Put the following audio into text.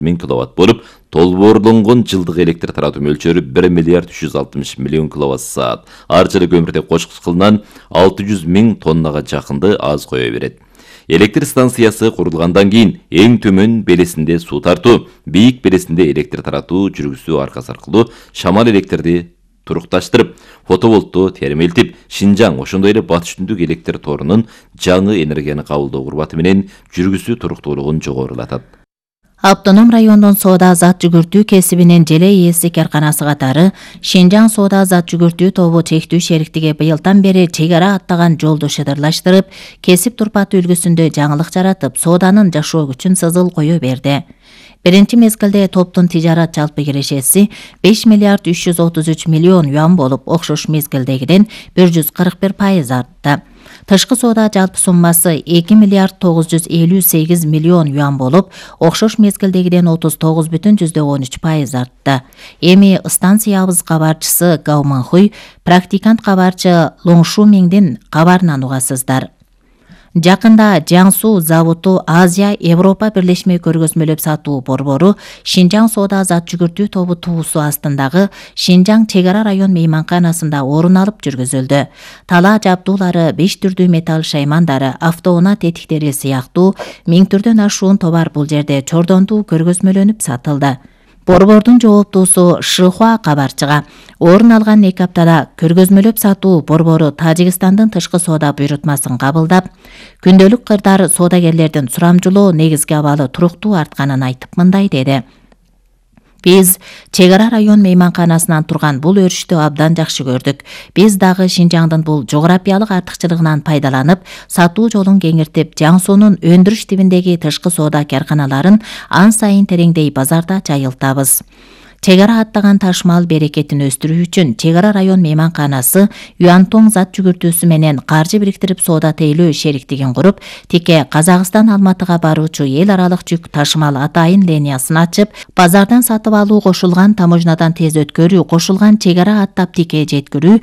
1000 киловатт болуп, толбоорлонгон жылдык электр таратуу мөлчөрү 1 миллиард 360 миллион киловатт саат. Ар жылы көмүртек кошкучкылынан 600 000 тоннага жакынды аз кое берет. Электр станциясы курулгандан кийин эң төмөн белесинде суу тартуу, бийик белесинде электр таратуу жүргүзүү аркасы аркылуу шамал электрди турукташтырып, фотоволтту термелтип, Шинжаң, ошондой эле Батыш Түндүк электр торунун жаңы энергияны кабылдоо курбаты менен жүргүзүү туруктуулугун жогорулатат. Автоном райондун соода зат жүгүртүү кесибинин желе ээси карканасы катары Шинжаң соода зат жүгүртүү тобу чектүү шериктиги быйылдан бери чек ара аттаган жолду шыдырлаштырып, кесип турпаты үлгүсүндө жаңылык жаратып, сооданын жашоо күчүн сызыл кое берди. Биринчи мезгилде топтун тижарат жалпы кирешеси 5 миллиард 333 миллион юан болуп, окшош мезгилдегиден 141% артты. Тышкы соода жалпы суммасы 2 миллиард 958 миллион юан болуп, окшош мезгилдегиден 39,13% артты. Эми станциябыз кабарчысы Гау Манхуй, практикант кабарчы Лоңшу Миңдин кабарынан угасыздар. Жакында Жаңсу заводу Азия Европа бирлешме көргөзмөлөп сатуу борбору Шинжаң соода зат жүгүртүү тобу туусу астындагы Шинжаң чек ара район мейманканасында орун алып жүргүзүлдү. Талаа жабдуулары, 5 түрдүү металл шаймандары, автоунаа тетиктери сыяктуу 1000 түрдөн ашуун товар бул жерде чордонду көргөзмөлөнүп сатылды. Борбордун жооптуусу Шихуа кабарчыга орун алган 2 аптада көргөзмөлөп сатуу борбору Тажикстандын тышкы соода буйрутмасын кабылдап, күндөлүк кырдаары соодагерлердин сурамжылоо негизги абалы туруктуу артканын айтып мындай деди. Биз чек ара район мейманканасынан турган бул өрүштү абдан жакшы көрдүк. Биз дагы Шинжаңдын бул жогорапиялык артыкчылыгынан пайдаланып, сатуу жолун кеңиртип, Жаңсуунун өндүрүш тибиндеги тышкы соода карканаларын ан сайын тереңдей базарда жайылтабыз. Чек ара аттаган ташмал берекетин өстүрүү үчүн чек ара район мейманканасы Юантоң зат жүгүртүүсү менен каржы бириктирип соода тейлөө шериктигин куруп, тике Казакстан Алматыга баруучу эл аралык жүк ташмал атайын линиясын ачып, базардан сатып алуу кошулган таможнядан тез өткөрүү, кошулган чек ара аттап тике жеткирүү,